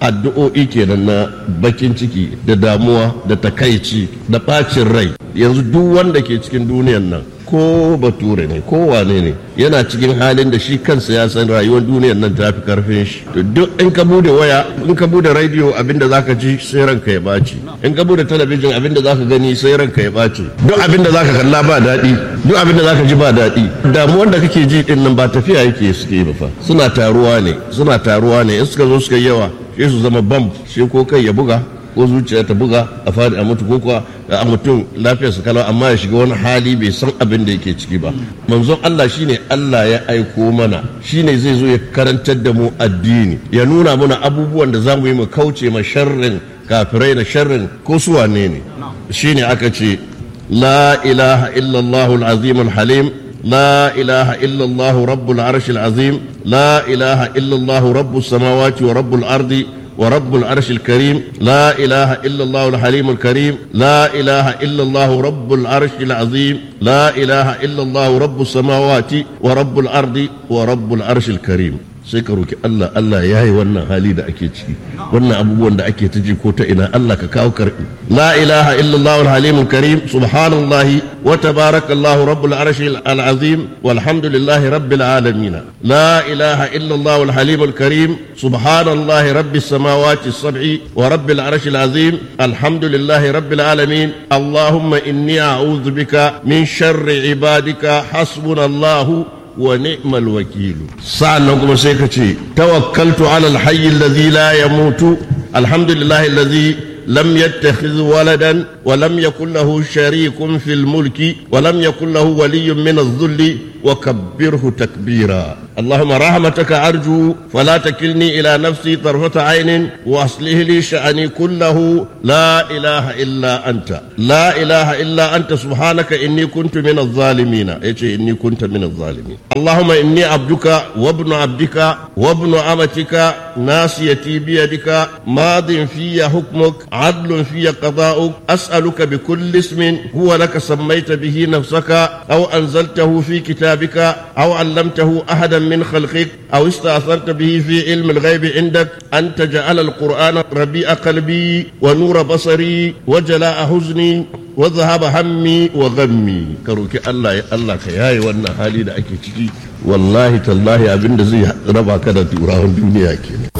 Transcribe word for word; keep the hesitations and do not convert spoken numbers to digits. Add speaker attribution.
Speaker 1: Addu'o'i kenan na bakin ciki da damuwa da takaici da bacin rai. Yanzu duk wanda ke cikin duniyan nan, ko bature ne ko wane ne, yana cikin halin da shi kansa ya san rayuwar duniyan nan ta fi karfin shi. To duk in ka bude waya, in ka bude radio, abinda zaka ji sai ranka ya baci. In ka bude talabijin, abinda zaka gani sai ranka ya baci. Duk abinda zaka kalla ba daɗi, duk abinda zaka ji ba daɗi. Damuwar da kake ji din nan ba tafiya yake suke ba fa, suna taruwa ne, suna taruwa ne. In suka zo suka yi yawa, sai su zama bam, sai ko kai ya buga ko zuciya ta buga, a fadi a mutu, ko kuwa a mutum lafiyar su kalau amma ya shiga wani hali bai san abin da yake ciki ba. Manzon Allah shine Allah ya aiko mana, shine zai zo ya karantar da mu addini, ya nuna mana abubuwan da zamu yi mu kauce ma sharrin kafirai da sharrin ko su wane ne. Shine aka ce: la ilaha illallah al-azim al-halim, لا إله إلا الله رب العرش العظيم، لا إله إلا الله رب السماوات ورب الأرض ورب العرش الكريم، لا إله إلا الله الحليم الكريم، لا إله إلا الله رب العرش العظيم، لا إله إلا الله رب السماوات ورب الأرض ورب العرش الكريم. Sai ka roki Allah, Allah ya yi wannan hali da ake ciki, wannan abubuwan da ake ta ji ko ta ina, Allah ka kawo karbi. La ilaha illallah al-halim karim, subhanallahi wa tabarakallahu rabbul arshi al-azim, walhamdulillahi rabbil alamin. La ilaha illallah al-halim karim, subhanallahi rabbis samawati as-sab'i wa rabbil arshi al-azim, alhamdulillahi rabbil alamin. Allahumma inni a'udhu bika min sharri ibadika, hasbunallahu wa ni'mal wakilu. Sa'annan kuma sai ka ce: tawakkaltu ala alhayy alladhi la yamutu, alhamdulillahi alladhi lam yattakhidh waladan wa lam yakul lahu sharikun fil mulki wa lam yakul lahu waliyyun min adh-dhulli wa kabbirhu takbira. اللهم رحمتك أرجو، فلا تكلني إلى نفسي طرفة عين، وأصلح لي شأني كله، لا إله إلا أنت، لا إله إلا أنت، سبحانك إني كنت من الظالمين. إيش إني كنت من الظالمين؟ اللهم إني عبدك وابن عبدك وابن أمتك، ناصيتي بيدك، ماض في حكمك، عدل في قضاؤك، أسألك بكل اسم هو لك سميت به نفسك أو أنزلته في كتابك أو علمته أحدا من خلقك أو استأثرت به في علم الغيب عندك، أن تجعل القرآن ربيع قلبي ونور بصري وجلاء حزني وذهاب همي وغمي. Ka roki Allah ya Allah ka yaye wannan hali da ake ciki. Wallahi tallahi, abinda zai raba ka da turawan duniya kenan.